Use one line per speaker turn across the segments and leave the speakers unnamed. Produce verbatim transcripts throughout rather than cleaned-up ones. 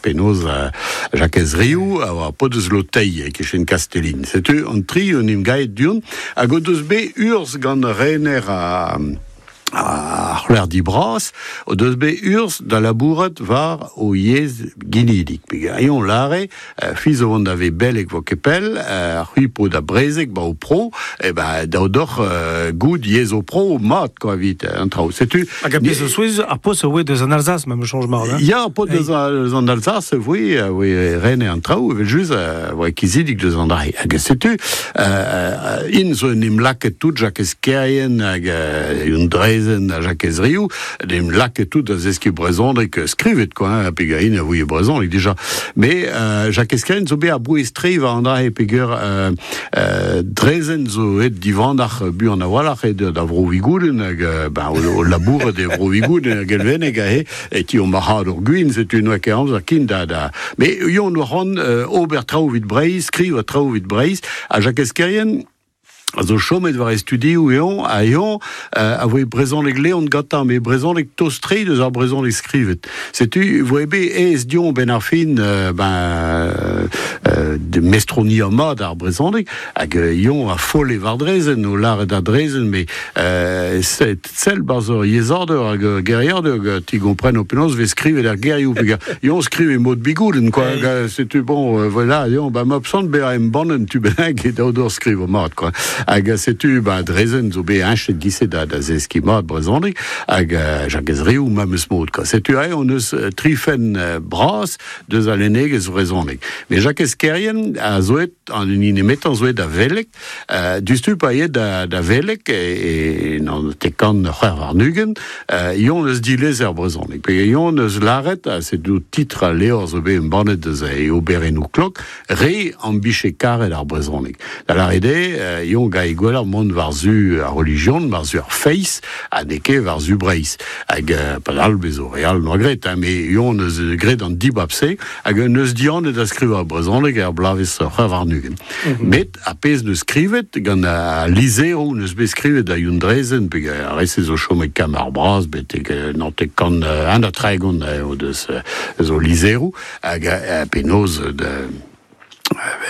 penaos Jakez Riou a oa paotr eus Lotei e-kichen Kastellin. Setu an tri en em gaet du-hont hag o deus bet urzh gant rener a ar c'hloerdi bras o deus bet urzh da labourat war o yezh ginidik. Peger eñ lâre, c'hwi zo vont da ve beleg vo ket pell, c'hwi po da brezeg ba ho pro, e ben dav deoc'h goût yezh ho pro mat quoi evit an traoù. Setu
Hag a pezh zo souezhus, ar paotr a oa deus an Alsace, ma me soñj mat. Hein?
Ya, ar paotr deus an Alsace voe, voe rener an traoù, evel just, voe kizidik deus an dra. Hag setu, euh, int zo en em lakaet tout Jakez Kerrien hag un Drezen ha Jakez Riou, en em lakaet tout da zeskiñ brezhoneg skrivet quoi, hein, peogwir int a ouie brezhoneg dija. Mais euh, Jakez Kerrien zo bet a-bouez-tre war an dra-se peogwir euh, euh, Drezen zo aet divandac'h buan a-walc'h aet da Vro Vigoudenn hag ben, o, o labourat e Vro Vigoudenn hag Elveneg aze e ti o marc'hadour gwin, setu n'oa ket amzer ken da da. Mais yon oa c'hoant euh, ober traoù evit Breizh, skrivañ traoù evit Breizh, ha Jakez Kerrien a zo chomet war e studioù eñ, ha eñ euh, a voe brezhoneg Leon gantañ, met brezhoneg tost-tre deus ar brezhoneg skrivet. Setu voe bet aes dezhañ 'benn ar fin euh, ben euh, de mestroniañ mat ar brezhoneg, hag eñ a folle war Drezen, o lâret da Drezen, met euh, sell 'barzh ur yezhadur hag ur geriadur hag ti gompreno penaos vez skrivet ar gerioù, peogwir eñ skrive mod Bigoudenn, quoi, hag setu bon, euh, voilà, eñ, ba ma psant bezañ embannet un tu bennak e dav deoc'h skrivañ mat, quoi. Hag setu ba Drezen zo bet heñchet gise da, da zeskiñ mat brezhoneg hag uh, Jakez Riou memes mod quoi. Setu aze hon eus tri fenn uh, bras deus al lennegezh brezhoneg. Mais Jakez Kerrien a zo aet an hini nemetañ zo aet da veleg, uh, diouzhtu pa aet da, da veleg e, e naontek kant c'hwec'h warn-ugent, uh, eñ neus dilezet ar brezhoneg. Pe eñ neus lâret, ha setu titr al levr zo bet embannet deus e oberennoù klok, re am bije karet ar brezhoneg. Da lâret eo, eñ gae gwelloc'h mont war-zu ar relijion, war-zu ar feiz, ha n'eo ket war-zu Breizh. Hag uh, padal bezo re all noa graet, hein, met eñ neus graet an dibab-se, hag neus dihanet da skrivañ brezhoneg er bloavezh c'hwec'h warn-ugent. Mm -hmm. Met ar pezh neus skrivet gant al lizheroù neus bet skrivet da Youn Drezen, pe ar re-se zo chomet Kambr ar Braz, betek naontek kant un ha tregont o deus zo lizheroù, hag penaos de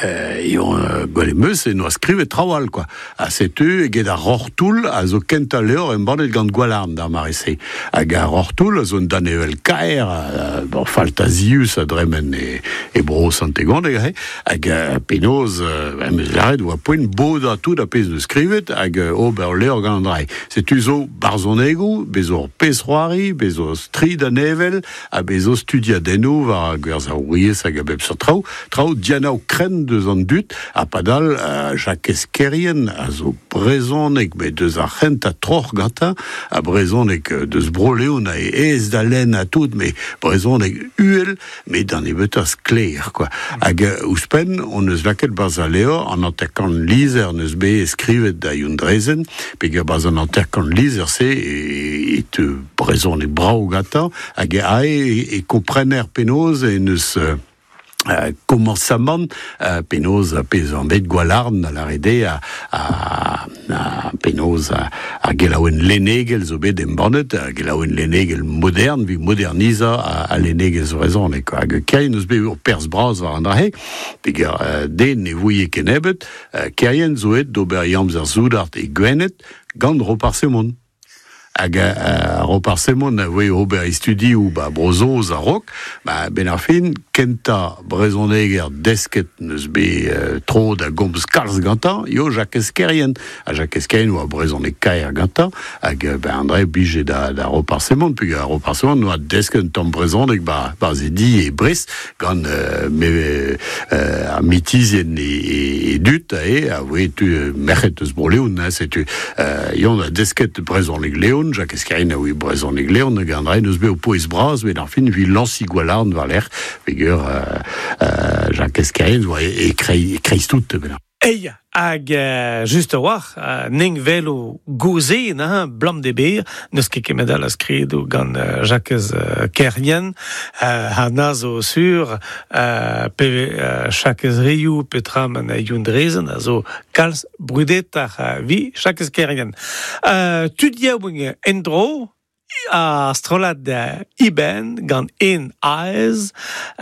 eñ gwelet 'meus e noa skrivet traoù all quoi. Ha setu eget ar Roc'h-Toull a zo kentañ levr embannet gant Gwalarn d'ar mare-se. Hag ar Roc'h-Toull a zo un danevell kaer, bon, faltazius a dremen e, e bro Sant-Tegondeg, he. Hag penaos, em eus lâret oa poent bodañ tout ar pezh neus skrivet hag ober levr gant an dra. Setu zo barzhonegoù, bez zo pezh-c'hoari, bez zo tri danevell, ha bez zo studiadennoù war ar gwerzaouriezh hag a bep seurt traoù, traoù dianav krenn deus an dud, ha padal uh, Jakez Kerrien a zo brezhoneg, met deus ar c'hentañ troc'h gantañ, ha brezhoneg deus Bro-Leon a aes da lenn ha tout, met brezhoneg uhel, met d'an nebeutañ sklaer, quoi. Hag uh, ouzhpenn, on eus lakaet 'barzh al levr, an hanter-kant lizher neus bet skrivet da Youn Drezen, peogwir 'barzh an hanter-kant lizher-se e, e teu brezhoneg brav gantañ, hag ae e, e komprener penaos e neus uh, Euh, komañsamant euh, penaos pezh an bet Gwalarn a lâret eo a, a, a penaos a, ar gelaouenn lennegel zo bet embannet, ar gelaouenn lennegel modern, evit modernizañ a, a lennegezh brezhoneg. Hag Kerrien eus bet ur perzh bras war an dra-se, peogwir euh, den ne ouie kennebeut, euh, Kerrien zo aet d'ober e amzer soudard e Gwened gant Roparz Hemon. Hag uh, Roparz Hemon a voe ober e studioù ba Bro-Saoz a-raok, ba 'benn ar fin, kentañ brezhoneger desket neus bet uh, tro da gomz kalz gantañ, eo Jakez Kerrien. Ha Jakez Kerrien oa brezhoneg kaer gantañ, hag ben André blije da, da Roparz Hemon, peogwir Roparz Hemon noa desket un tamm brezhoneg ba, ba ze di e Brest, gant uh, me, uh, ar mitizien e, e, e dud, e, a voe tu merc'hed eus Bro-Leon, hein, setu uh, eñ a desket brezhoneg Leon, Jakez Kerrien a oa brezhoneg Leon, hag André neus bet o pouez bras, met ar fin evit lañsiñ Gwalarn war-lerc'h, peogwir euh, euh, Jakez Kerrien oa e, e, krei, e kreiz tout, ben.
Ei, hag uh, just a-walc'h, uh, ning velo goze, na, blam de ber, n'eus ket kemet all a skridoù gant uh, Jakez uh, Kerrien, uh, ha na zo sur, uh, pe uh, Jakez Riou petra man a Youn Drezen, a zo kalz brudetoc'h uh, vi Jakez Kerrien. Uh, tud yaouank en-dro, a strollad uh, Iben gant en aez.